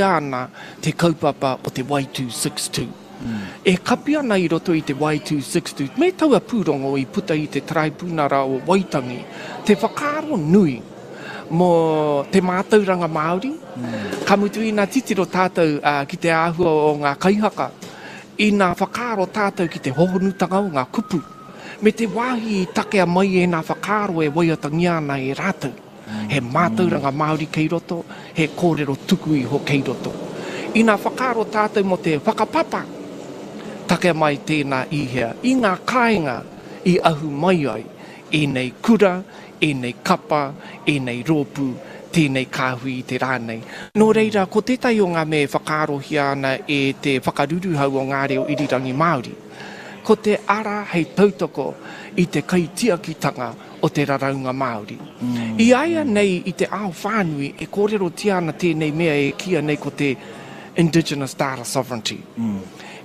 Ana te kaupapa o te Y262. E kapi ana i roto i te Y262 me taua pūrongo i puta i te Taraipunara o Waitangi te whakaaro nui mō te mātauranga Māori, ka mutu ina titiro tātou ki te āhua o ngā kaihaka, ina whakaaro tātou ki te hohonutanga o ngā kupu, me te wāhi i takea mai ēnā whakaaro e waiatangia ana e rātou. He mātauranga Māori kei roto, he kōrero tuku iho kei roto. Ina whakaaro tātou mō te whakapapa, takea mai tēnā i hea, i ngā kāinga i ahu mai ai ēnei kura, ēnei kapa, ēnei rōpū, tēnei kāhui i te rā nei. Nō reira, ko tētahi o ngā mea e whakaarohia ana e te whakaruruhau o ngā reo irirangi Māori, ko te ara hei tautoko i te kaitiakitanga o te raraunga Māori. I a ia nei i te ao whānui e kōrerotia ana tēnei mea e kīia nei ko te Indigenous Data Sovereignty.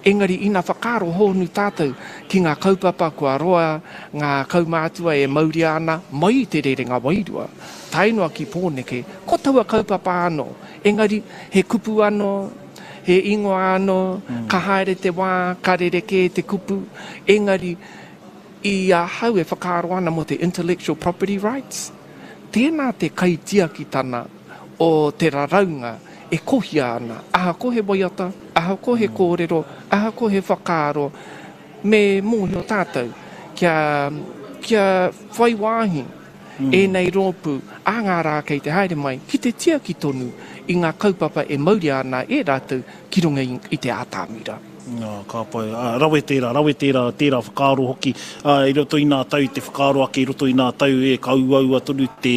Engari ina whakaaro hōnu tātou ki ngā kaupapa kua roa ngā kaumātua e mauria ana mai i te rerenga wairua tae noa ki Pōneke, ko taua kaupapa anō, engari he kupu anō, he ingoa anō, ka haere te wā, ka rerekē te kupu, engari I ahau e whakaaro ana mō te intellectual property rights, tēnā te kaitiakitana o te raraunga e kohia ana, ahakoa he waiata, ahakoa he kōrero, ahakoa he whakaaro, me mōhio tātou kia, kia whai wāhi ēnei rōpū ā ngā rā kei te haere mai ki te tiaki tonu i ngā kaupapa e mauria ana e rātou ki runga i te ātamira. Ā, ka pai. Ā, rawe tērā, rawe tērā, tērā whakaaro hoki. Ā, i roto i nā tau, te whakaaro ake i roto i nā tau, e, ka uaua tonu te,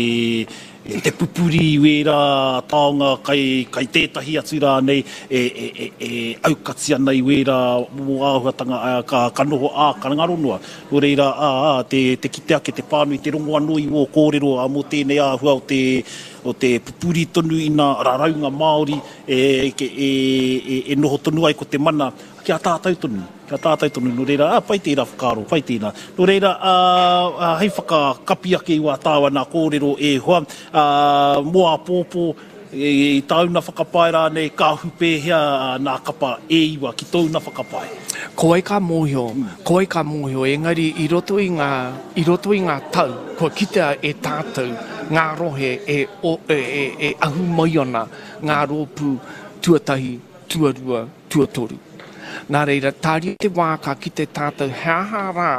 te pupuri i wērā taonga kai, kai tētahi atu rānei e, e, e, e aukati ana i wērā momo āhuatanga, ā, ka, ka noho, ā, ka ngaro noa. Nō reira, ā, ā, te, te kite ake, te pānui, te rongo anō i wō kōrero, ā, mō tēnei āhua o te, o te pupuri tonu i nā raraunga Māori, e, e, e noho tonu ai ko te mana ki a tātou tonu, ki a tātou tonu. Nō reira, ā, pai tērā whakaaro, pai tēnā. Nō reira, ā, ā, hei whakakapi ake i wā tāua nā kōrero e hoa, ā, mō āpōpō, i tāu nā whakapae rānei, ka ahu pēhea nā kapa e iwa ki tōu nā whakapae? Ko wai ka mōhio, ko wai ka mōhio, engari i roto i ngā, i roto i ngā tau, kua kitea e tātou ngā rohe e, e, e, e ahu mai ana ngā rōpū tuatahi, tuarua, tuatoru. Nā reira, tāria te wā ka kite tātou he aha rā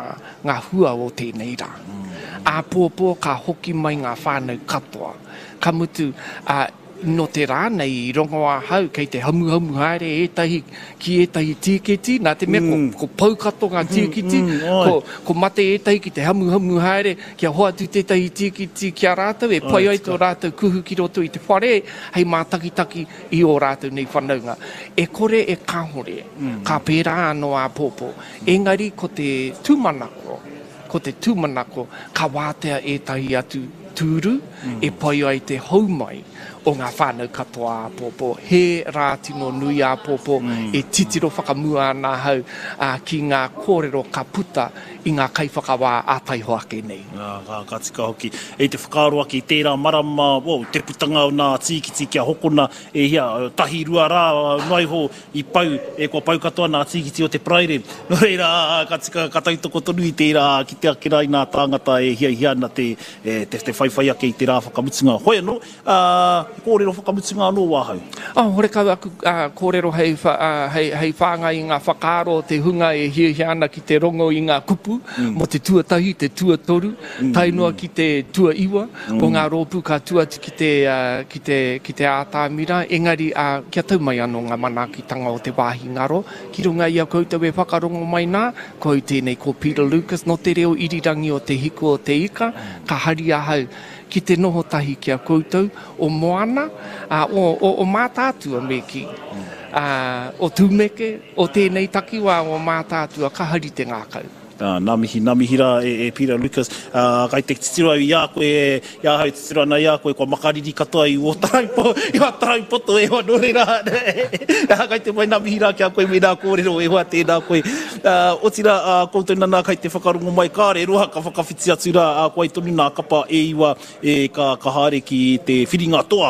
ngā hua o tēnei rā. Āpōpō ka hoki mai ngā whānau katoa. Ka mutu, ā, nō te rā nei i rongo ahau kei te hamuhamu haere ētahi ki ētahi tīketi, nā te mea ko, ko pau katoa ngā tīkiti, ko, ko mate ētahi ki te hamuhamu haere kia hoatu tētahi tīkiti ki a rātou e pai ai tō rātou kuhu ki roto i te whare hei mātakitaki i ō rātou nei whanaunga. E kore e kāhore, ka pērā anō āpōpō. Engari ko te tūmanako, ko te tūmanako ka wātea ētahi atu tūru e pai ai te hou mai o ngā whānau katoa āpōpō. He rā tino nui āpōpō e titiro whakamua ana ahau ki ngā kōrero ka puta i ngā kaiwhakawā ā taihoa ake nei. Ā, ka tika hoki. I te whakaaro ake i tērā marama, oh, te putanga o nā tīkiti kia hokona e hia, tahi, rua rā noa iho i pau, e kua pau katoa nā tīkiti o te Paraire. Nō reira, ā, ka tika, ka tautoko tonu i tērā, kite ake rā i nā tāngata e hiahia ana te, te, te whaiwhai ake i te rā whakamutunga. Hoi anō, Ā, he kōrero whakamutunga anō wāhau. Ā, horekau aku kōrero hei, hei, hei whāngai i ngā whakaaro o te hunga e hiahia ana ki te rongo i ngā kupu mō te tuatahi, te tuatoru, tae noa ki te tuaiwa o ngā rōpū ka tū atu ki te, ki te, ki te ātamira. Engari, ā, kia tau mai anō ngā manaakitanga o te wāhi ngaro ki runga i a koutou e whakarongo mai nā, ko au tēnei ko Peter Lucas nō te reo irirangi o Te Hiku o Te Ika, ka hari ahau ki te noho tahi ki a koutou, o Moana, ā, o, o, o Mātaatua me kī, ā, o Tūmeke, o tēnei takiwā o Mātaatua, ka hari te ngākau. Ā, nā mihi, nā mihi rā e, e Peter Lucas. Ā, kai te titiro au i a koe, i ahau e titiro ana i a koe, kua makariri katoa i ō tarau po, i ō tarau poto e hoa, nō reira, ā, kai te mai nā mihi rā ki a koe me nā kōrero e hoa, tēnā koe. Ā, otirā, ā, koutou nana kai te whakarongo mai, kāre roa ka whakawhiti atu rā, ā, ko ai tonu nā kapa e iwa e ka, ka haere ki te whiringa toa.